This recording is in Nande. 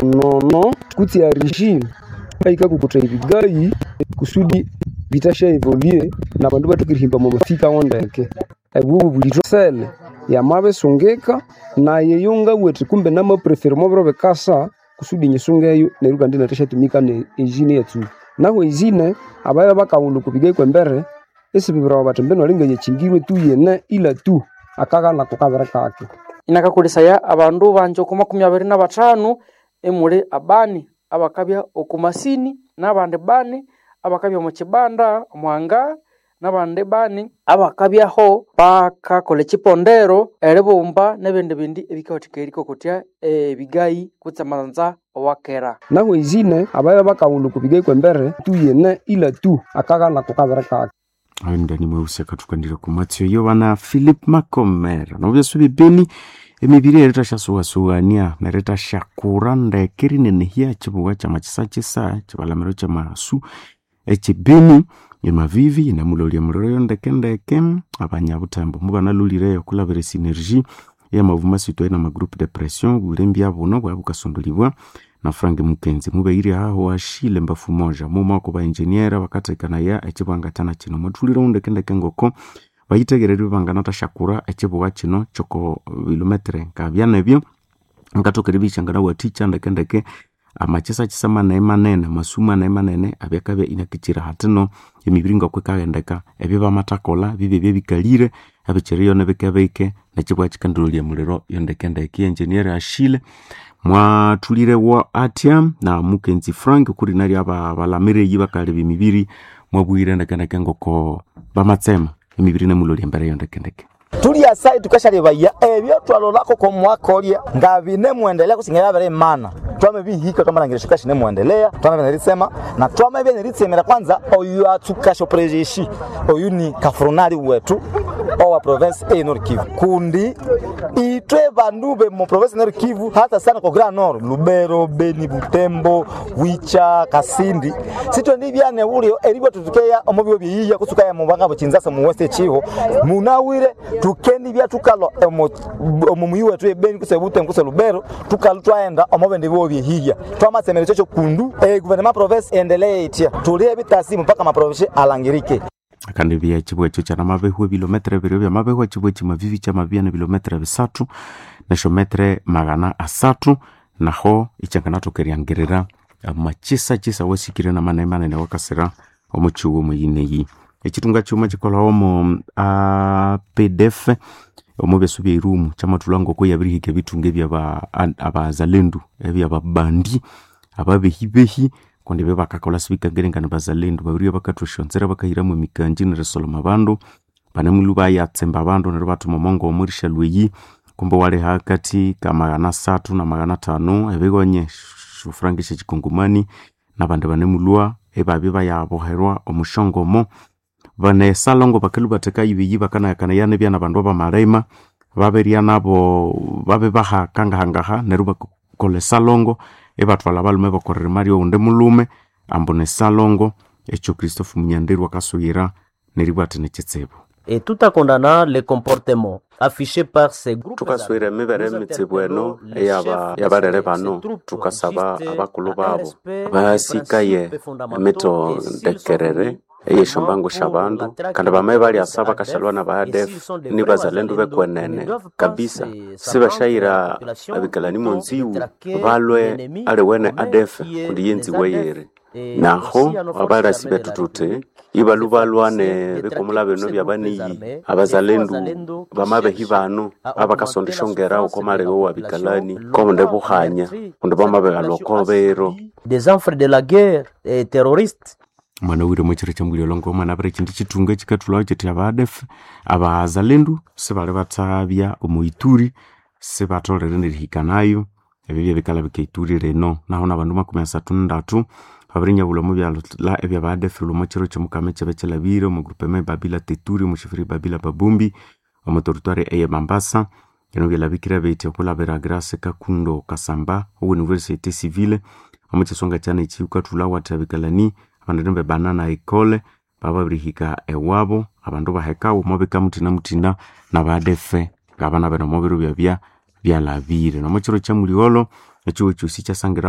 Nono kutse argile eyikakokotaya ebigayi kusudi bitasya evolue nabandu ibathoka erihimba omwa mafika wo ndeke. Obo bobulito sele yamabisungika nayi eyo ngabugha indi kumbe nama prefera omwa biro bikasa kusudi nyisungeyo neryo kandi inathasyatumika ne ezine eyatsuka. Nahu ezine ababya bakaghulha oko bigayi kwembere isibibwirawa bathi mbinu alinga yakyingirwe tu yene ila tu akaghala ako kabiri kake. Inakakolesaya abandu bangi oko 25 emuli abani abakabya oku masini nabandi bani abakabya omu kibanda omuhanga nabandi bani abakabyaho bakakolha ekyipondero eribumba nebindi bindi ebikawathikaya erikokotya ebigayi kutse amanza awakera. Nahu ezine ababya bakaghulha oko bigayi kwembere tu yene ila tu akaghala ako kabiri kake. Ayo ndani mweusi akatukandira kumatsyo yo bana Philip Makomera nobyesu bibeni emibiri eritashyasuwasuwania neritasyakura ndeke rinenehya ekibuga kyamakisakisa ekibalamiro kyamasu ekibeni emavivi inamulolya muliro yo ndeke ndeke abanyabutembo mubanalhulireyo okulabira esinergy eyamavuma citoyen na magroupe de pression bulembya buno bwabya bukasondolibwa na Frank Mukenzi mubeire aho ashile mbafu moja mumako ba engineer bakathekanaya ekibwangathana kino mwathulire ndeke ngoko bayitegererwe banganathashakura ekibuga kino kyoko bilometere nkabyana ebyo nkathoka eribishangana wathikya ndeke amakisakisa manene manene amasu manene manene abyakabya inakitsira hathino emibiri ngokwikaghendeka ebyo bamathakolha bibye byebikalire ebikyiriyo nibikebike nekibuga kikandilolya muliro yondekendeke engineer Ashile mwathulirewo athya na Mukenzi Frank kuri naryo abalamireyi bakaleba emibiri mwabwire ndekendeke ngoko bamatsema emibiri nemulolya embere yondekendeke. Tulya sai tukashalebaya ebyo twalolako komwakolya nga binemwendelea kusinga yabere imana twamebihika twamalangira shukashi nemwendelea twamebe nerisema na twamebe neritsemera kwanza oyu atsukasho prejeshi oyu ni kafronali wetu owa province e Nord Kivu kundi itwe bandu be mu province Nord Kivu hata sana kwa Grand Nord Lubero Beni Butembo Wicha Kasindi sitwe ndibyane ulio eribwa tutukeya omubyo byiya kusukaya mu banga bukinzasa mu West Chiho munawire tukendi bya tukalo omu muyi wetu ebeni kuse Butembo kuse Lubero tukalo twaenda omubende bwo byehiya twamatsemere chocho kundu gouvernement province endelee itia tulie bitasi mpaka maprovince alangirike. Kandi bya ekibwa ekyo kyanamabehwa ebilometere biri byamabehwa ekibwa ekimavivi kyamabya nebilometere bisathu nesyometere 300 naho ikyanganathoka eryangirira amakisakisa wasikire namanene manene wakasira omu kighuma omuyineyi. Ekitunga kighuma kikolhawo omu APDF omu byesu byeirumu kyamathulha ngoko yabirihika ebithunga ebyaba abazalendu ebyababandi ababehibehi kundi ebyo bakakolha sibikangiringana bazalendu babiribya bakathwa esyonzira bakahiramu emikanji nerisoloma abandu banemulhu bayatsemba abandu neryo ibathuma omongomo erishalwa eyi kumbe wali hakathi ka 300 na 500 ebighonye esyofuranga esyekikongomani nabandi banemulhwa ibabya bayaboherwa omusyongomo bane salongo bakalhwa batheka ibiyi bakanayakanaya nibya nabandu abamalima babirya nabo babibaha kangahangaha neryo bakolha esalongo ibathwalha abalhume bakoririma ryowundi mulhume ambu nesalongo ekyo Christophe Munyanderu akasuyira neribugha athi nikitsibu. Et tout en condamnant les comportements affichés par ces groupes Thukaswira emibere emitsibu eno eyabalere bano thukasaba abakulhu babo basikaye emitondekerere eyesyombangu syabandu kandi bamaye balyasa bakashalwa naba ADF nibazalendu bekwenene kabisa sibasyayira abikalani monziwu balwe aliwene ADF kundi yenziwe yeri naho abalasi bethu thuthi ibalhu balwane bikumula bino byabaniyi abazalendu bamabehi banu abakasonda esyongera oko malebe wabikalani kobundi buhanya kundi bamabighalha oko biro des enfants de la guerre et terroristes. Mwana wire mwekiro kyamulya omwana abiri ekindu kithunga ekikathulhawo kyithi aba ADF abazalendu sibali bathabya omu Ituri sibatholere nerihikanayo ebyo byebikalha Ituri lino naho nabandu 33 babirinyabulha omu byalha ebyaba ADF lhuma kiro kyomukama ekyaba kyilhabire omu groupement Babila Teturi omu shifiri Babila Babumbi omu territoire eye Mambasa bino byalhabikire bithi okulhabira Grace Kakundo Kasamba owe Université Civile omu kyisonga kyana ekyi wukathulha wathi abikalani abandu bebanana ekole bababirihika ewabo abandu bahekawo omwabika muthina muthina naba ADF ngabana bene omubiro byabya byalhabire nomukiro kyamuligholho Ekihugo ekyosi kyasangira.